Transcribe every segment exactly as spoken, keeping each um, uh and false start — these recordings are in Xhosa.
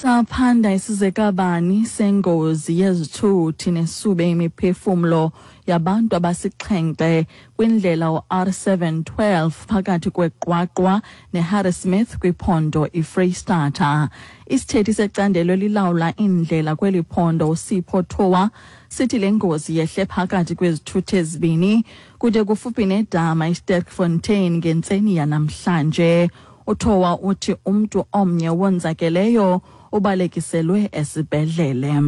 Saphanda isizekabani sengozi yezithuthi nesube imiphefumlo yabantu abasixhenxe kwindlela u-R seven twelve phakathi kweQwaqwa neHarrismith kwiphondo iFreystata. Isithethi secandelo elilawula indlela kweli phondo uSipho Thowa sithi le ngozi yehle phakathi kwezithuthi ezibini kude kufuphi nedama iSterkfontein ngentseni yanamhlanje. UThowa uthi umntu omnye wonzakeleyo ubalekiselwe esibhedlele.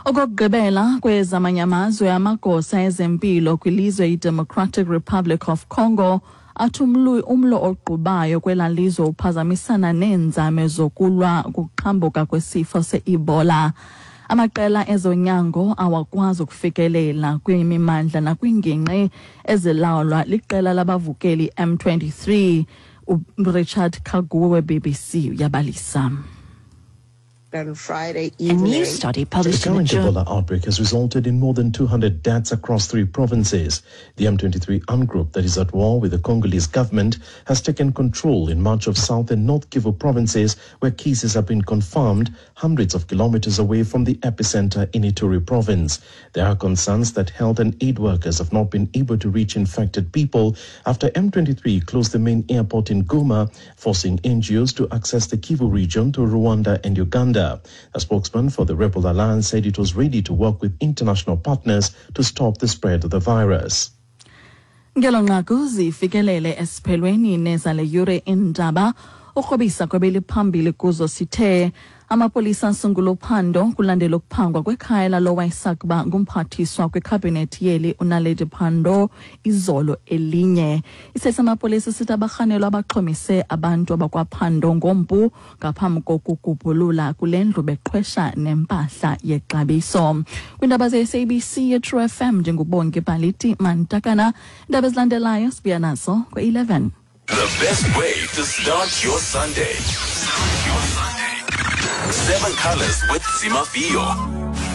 Okokugqibela kwezamanye amazwe, amagosa ezempilo kwilizwe iDemocratic Republic of Congo athi umlo ogqubayo kwela lizwe uphazamisana neenzame zokulwa ukuqhambuka kwesifo se-Ebola. Amaqela ezonyango awakwazi ukufikelela kwimimandla nakwingingqi ezilawulwa liqela labavukeli M twenty-three. Richard Kaguwe we-B B C uyabalisa. On Friday A new evening, study published The in the current journal Ebola outbreak has resulted in more than two hundred deaths across three provinces. The M twenty-three armed group that is at war with the Congolese government has taken control in much of South and North Kivu provinces where cases have been confirmed hundreds of kilometers away from the epicenter in Ituri province. There are concerns that health and aid workers have not been able to reach infected people after M twenty-three closed the main airport in Goma, forcing N G Os to access the Kivu region to Rwanda and Uganda. A spokesman for the Rebel Alliance said it was ready to work with international partners to stop the spread of the virus. Ngelo nqaku zifikelele esiphelweni nezale yure indaba ukrobisa kwebeliphambili kuzo sithe amapolisa asungula uphando kulandela ukuphangwa kwekhaya lalo wayesakuba ngumphathiswa kwikhabhinethi yeli uNaledi Pandor izolo elinye. Isese amapolisa sithi abarhanelwa abaxhomise abantu abakwaPandor ngompu ngaphambi kokugubhulula kule ndlu beqhwesha nempahla yexabiso. Kwiindaba ze-S A B C ye-True F M ndinguBongi Baliti Mantakana. Iindaba ezilandelayo sibuya nazo kwe-eleven. The best way to start your Sunday. Seven Colors with Zimafio.